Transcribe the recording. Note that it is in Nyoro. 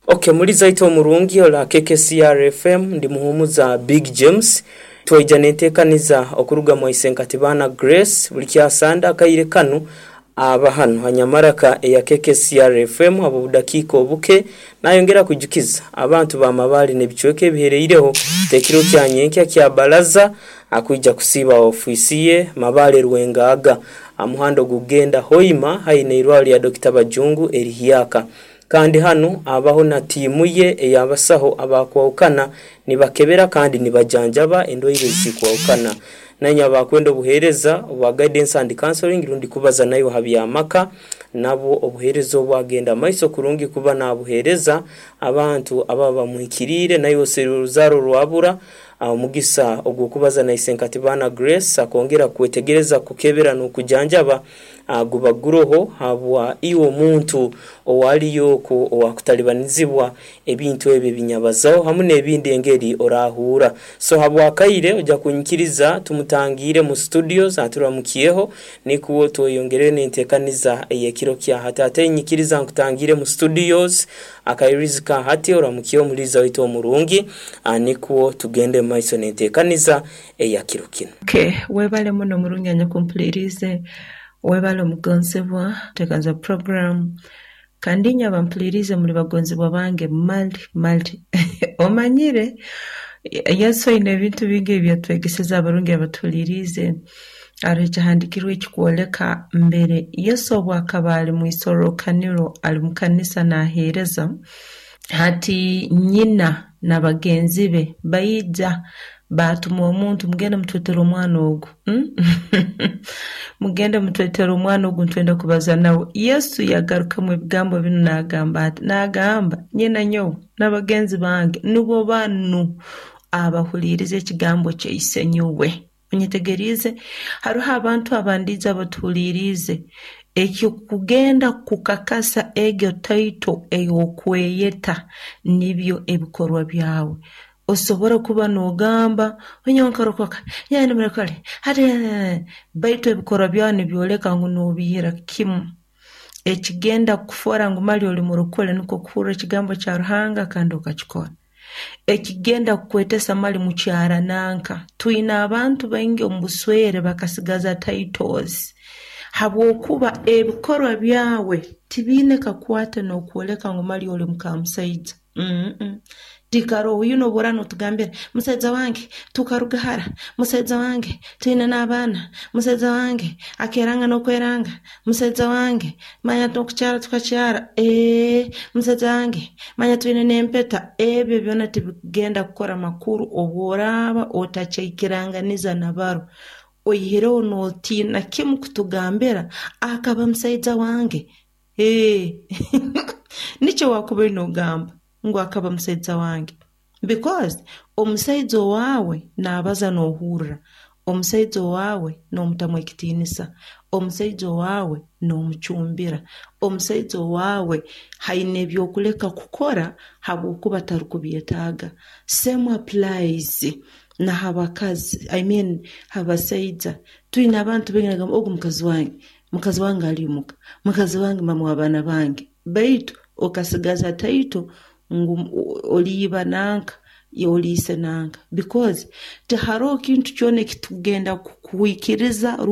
Okay, muliza ite omurungi ola KKCR FM, ndi muhumuza Big James. Twaija nentekaniza okuruga mwaisenkatibana Grace buli kyasanda akaire kanu aba hanu hanyamaraka eya KKCR FM abo budakiika obuke. Nayongera kujukiza abantu ba Mabale n'ebicweka ebihereireho tekiro kya nyenkya kya baraza akwija kusiiba ofiisi ye Mabale Rwengaga amuhanda ogugenda Hoima haine irwaro lya Dr. Bajungu erihyaka. Kandi hanu abaho na tiimu ye ey'abasaho abakwahukana nibakebera kandi nibajanjaba endwaire ezikwahukana. Nanye abakwenda obuheereza obwa guidance and counseling rundi kubaza nayo ha by'amaka, nabwo obuheereza obwagenda maiso kurungi kuba nabuheereza abantu ababa bamuhikiriire. Naye oserura oruzaaro rwabura omugisa ogw'okubaza na Isenkatibana Grace akongera kwetegereza kukebera n'okujanjaba guba guroho habwa iwe omuntu owaliyo okwo owakutalibanizibwa ebintu ebyo ebinyabazaho hamu n'ebindi engeri orahuura. So habwakaire ojja kunyikiriza tumutangiire mu studios aturamukyeho nikwo tweyongerere n'entekaniza ey'ekiro kya hati. Ate nyikiriza nkutangiire mu studios akairizi ka hati oramukyeho omuliiza waitu omurungi nikwo tugende mu maiso n'entekaniza eya kiro kinu. Okay, webale muno omurungi anyakumpuliriize, webale omugonzebwa tekanza program. Kandi inywe abampuliriize muli bagonzebwa bange mali mali. Omanyire Yesu aine ebintu bingi ebyatwegeseze abarungi abatuhuliriize. Haroho ekyahandiikirwe ekikwoleka mbere Yesu obu akaba ali mu isorrokaniro ali mu kanisa naaheereza, hati nyina na bagenzi be baija baatuma omuntu, mugende mutwetere omwana ogu. Mugende mutwetere omwana ogu nitwenda kubaza nawe. Yesu yagarukamu ebigambo binu naagamba ati, naagamba nyina nyowe n'abagenzi bange nubo banu abahuliiriza ekigambo kya Isenyowe. Onyetegeriize? Haroho abantu abandiijo abatuhuliiriize ekikugenda kukakasa egyo taito ey'okweyeta nibyo ebikorwa byawe. Osobora kuba n'ogamba nyowe nkarokoka, nyowe ndi murokole, hati baitu ebikorwa byawe nibyoleka ngu noobihira kimu. Ekigenda kukufoora ngu mali oli murokole nukwo kuhurra ekigambo kya Ruhanga kandi okakikora. Ekigenda kukwetesa mali mukyara nanka. Twine abantu baingi omu buswere bakasigaza titles habwokuba ebikorwa byawe tibiine kakwate n'okwoleka ngu mali oli mukamusaija. Tikaroho oyu n'obu oraaba nootugambira musaija wange tukaruga hara, musaija wange twine n'abaana, musaija wange akeranga n'okweranga, musaija wange manya n'okukyara tukakyara, musaija wange manya twine n'empeta. Ebyo byona tibikugenda kukora makuru obu oraaba otakyaikiranganiza na baro. Oihireho nootiina kimu kutugambira akaba musaija wange. Nikyo waakubaire noogamba ngu akaba musaija wange. Because omusaija owaawe naabaza noohurra, omusaija owaawe noomutamu ekitiinisa, omusaija owaawe noomucumbira, omusaija owaawe haine eby'okuleka kukora habwokuba tarukubyetaaga. Same applies na ha bakazi, I mean ha basaija. Twine abantu baingi nagamba ogu mukazi wange ali omuka, mukazi wange mama w'abaana bange. Baitu okasigaza taito ngu oliiba nanka, oliise nanka because tiharoho kintu kyona ekitugenda kukwikiriza.